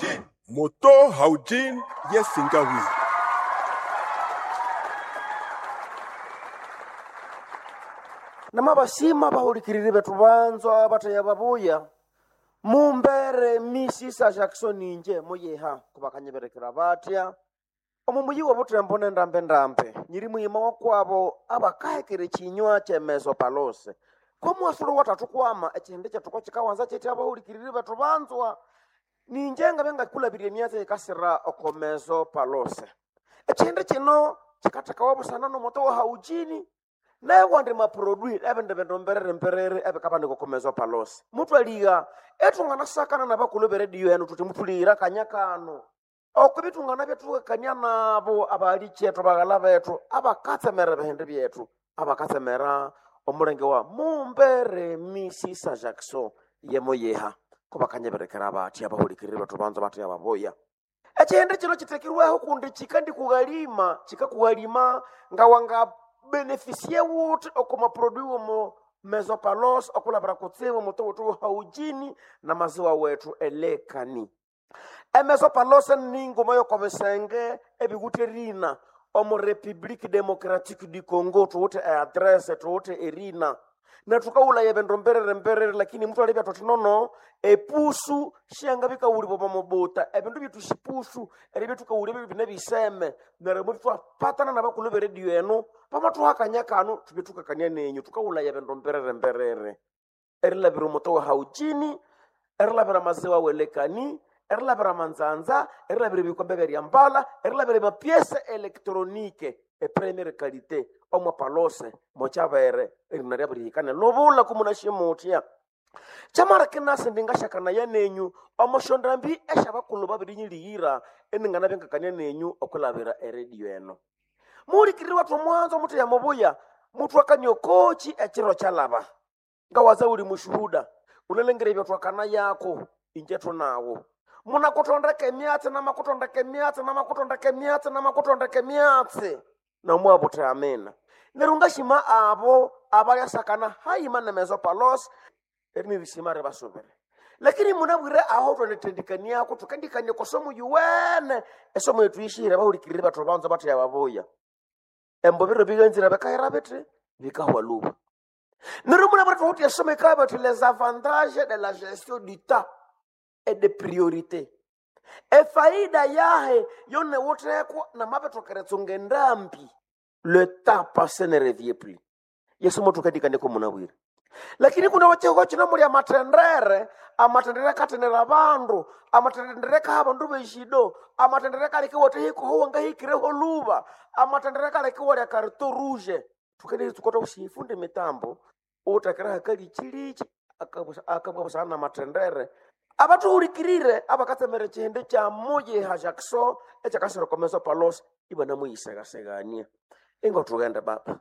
Haujin. Moto Haujin yesingawi. Namabasima bahulikiriri bethu banzwa bathaya babuya mumbere misisa Jackson inje muyiha kubakanyiberekera batya omu muyi w'obuthembo nendambe-ndambe nyiri muyima wakwabo abakahekera ekinywa kyemezo palose komuwasulu wathathu kwama ekihindi kyethu kokikawanza kyetya abahulikiriri bethu banzwa ninje ngabya ngakulabirya emyatsi eyikasira oko mezo palose ekihindi kino kikathekawa busana n'omuto wa haujini newandi maprodui ebindi bindu mberere mberere ebikabanika oko mezo palose mutwaliga ethunganasakana nabakulhu beredio enu thuthi muthulighira akanya kano oko bithungana byethukakania nabo abali kyethu baghala bethu abakatsemera ebihindi byethu abakatsemera omulenge wa mumbere misisa Jackson yemoyeha kubakanyeberekera bathi abahulikiriri bethu banza bathi ababuya ekihindi kino kitekirweho kundi kikandikughalima kikakughalima nga benefisie wuthi oko maprodui womo mesopalos okulabira kutsibu mutu wuthi haujini na maziwa wethu elekani emesopalos ninguma yokobisenge ebikuthi erina omu Republique Democratique du Congo thuwithe eadresse thuwithe erina netukaghulaya ebindu mberere mberere lakini muthu alibya thuthi nono epusu syangabikawulibwa omo mubuta ebindu byethu sipusu eribya thukawulya ebyo bine biseme neryo mutwapatana nabakulhu beredio enu pamathuha akanya kanu thubye thukakania nenyu thukawulaya ebindu mberere mberere erilabira omuto wa haujini erilabira amaziwa welekani erilabira amanzanza erilabira ebikombe byeryambala erilabira emapiese elektronike epremiere kalite omwapalose mokyabere erina ryabirihikane lubula kumunashimutya kyamara kinasi ndingashakanaya nenyu omoshondambi esyabakulhu babirinyilighira eninganabya ngakania nenyu okulabira eredio eno muhulikiriri wathu omwanzo mutheya mubuya muthwakania okoki ekiro kyalaba ngawaza uli mushuhuda unalengera ebyatwakana yako inje thunawo munakutondeka emyatsi namakutondeka emyatsi namakutondeka emyatsi namakutondeka emyatsi nomwabutha amina neryo ngashima abo abalyasakana hayima nemezo palos erinirishima ribasubire lakini munabwire aho thwanethendikaniako thukandikania kosomo yuwene esomo yethu yishihire bahulikirire bathu banza batheya babuya embo biro biganzira bikahera bithi bikahwa luba neryo munabwire thukuthi esomo ikabya bathi les avantages de la gestion du temps et de priorité efaida yahe yonewuthekwa namabithokeretsunga endambi le temps passé ne revient plus yesu mothukadikanieko munabwire lakini kuna wachihoko chino muli amathendere amathendere akathenera abandu amathendere kaha abandu beshido amathendere kaleke watehikoho wangahikireho luba amathendere kaleke walya karito rouge thukeneri tsukota ushifunde mitambo utakira hakalichilichi akabwabusana na mathendere abathuhulikirire abakatsemera ekihindi kya muyiha Jackson ekyakasira okomeso palos ibanamuyisegasegania ingo thughende baba.